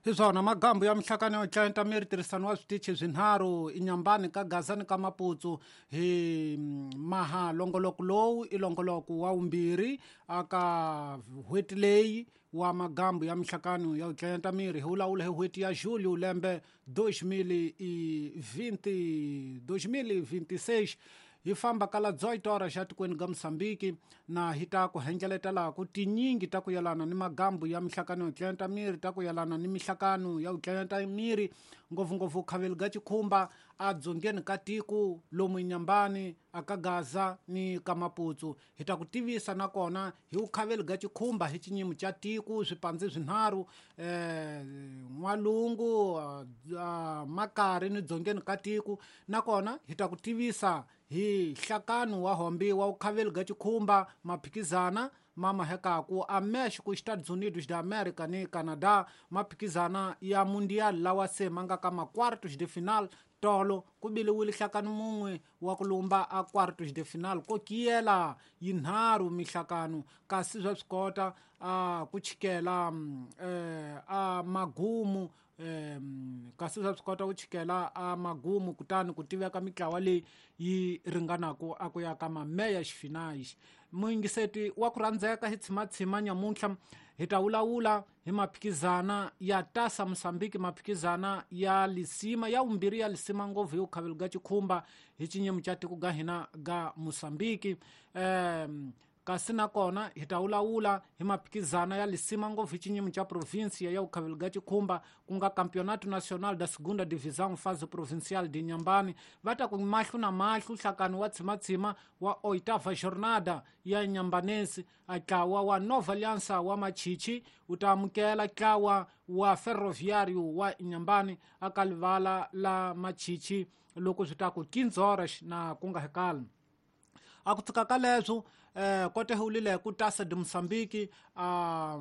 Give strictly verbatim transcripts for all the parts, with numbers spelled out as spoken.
Hi swona magambu ya mihlakano yo tlenta miri tirhisano wa switichi swinharhu inyambani ka Gaza ni ka Maputsu hi maha longoloko lowu i longoloko wa vumbirhi aka n'hweti leyi wa magambu ya mihlakano ya tlenta miri hi vulavula hi n'hweti ya Julho lembe dois mil e vinte dois mil e vinte e seis hi famba kala dezoito horas xa tikweni ga Mozambique na hi ta ku hengeletela ku tinyingi ta ku yelana ni magambu ya mihlakano yo tlenta miri ta ku yelana ni mihlakano ya ku tlenta miri ngopfungopfu khaveli ga Chikhumba a dzongeni ka tiko lomu Inyambani aka Gaza ni ka Maputsu hi ta ku tivisa nakona hi ukhaveli ga Chikhumba hi xinyimo xa tiko swipandzi swinharhu eh N'walungu Makari ni dzongeni ka tiko nakona hi ta ku tivisa hi nhlakano wa hombi wa ukhaveli ga Chikhumba maphikizana mama hekaku a México, Estados Unidos da América ni Canadá maphikizana ya mundial lawa se manga ka ma quartos de final tolo ku biliwile nhlakano mun'we wa ku lumba a quartos de final ko kiyela yinharhu mihlakano kasi swa swi kota a ku chikela eh, a magumu um kasi swa swi kota ku chikela a magumu kutani ku tiveka mitlawa leyi yi ringanaku a ku ya ka mameya xifinais muyingiseti wa ku rhandzeka hi tshimatshima nyamuntlha hi ta vulavula hi maphikizana ya Taça Mozambique maphikizana ya lisima ya vumbirhi ya lisima ngopfu hi ukhaveli ga Chikhumba hi xinyimo xa tiko ga hina ga Mozambique um kasi nakona hi ta vulavula hi maphikizana ya lisima ngopfu hi xinyimo xa província ya ukhaveli ga Chikhumba ku nga Campeonato Nacional da Segunda Divisão fase provincial de Inhambane va ta ku mahlo na mahlo nhlakano wa tshimatshima wa oitava jornada ya Inhambanense a ntlawa wa Nova Aliança wa Machichi wu ta amukela ntlawa wa Ferroviário wa Inhambane aka livala la Machichi loko swi ta ku quinze horas na ku nga hekala a ku tshuka ka leswo eh kote hulile ku Taça de Moçambique a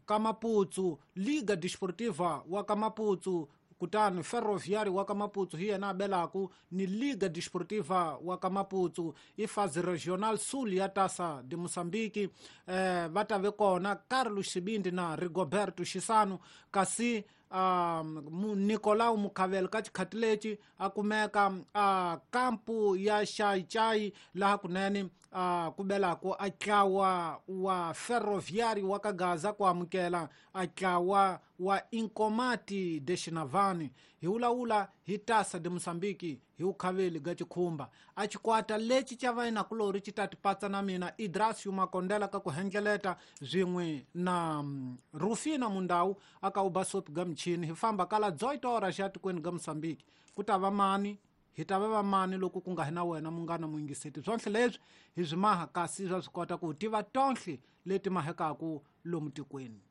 ka Maputsu Liga Desportiva wa ka Maputsu kutani Ferroviário wa ka Maputsu hi yena a belaku ni Liga Desportiva wa ka Maputsu i fase regional sul ya Taça de Moçambique eh va ta ve kona Carlos Xibindi na Rigoberto Xisano kasi um Nicolau Mukhavela ka xikhati lexi a kumeka a kampu ya Xai-Chai laha kunene a ku belaku a ntlawa wa Ferroviário wa ka Gaza ku amukela a ntlawa wa Inkomati de Xinavani hi vulavula hi Taça de Moçambique hi ukhaveli ga Chikhumba a xikwata lexi xa vayinakulori xi ta tipatsa na mina Idrasio Makondela ka ku hengeleta swin'we na Rufina Mundau aka ubasopi ga michini hi famba kala dezoito horas xa tikweni ga Mozambique ku ta va mani hi ta va va mani loko ku nga hi na wena munghana muyingiseti swonhle leswi hi swi maha kasi swa swi kota ku tiva tonhle leti mahekaku lomu tikweni.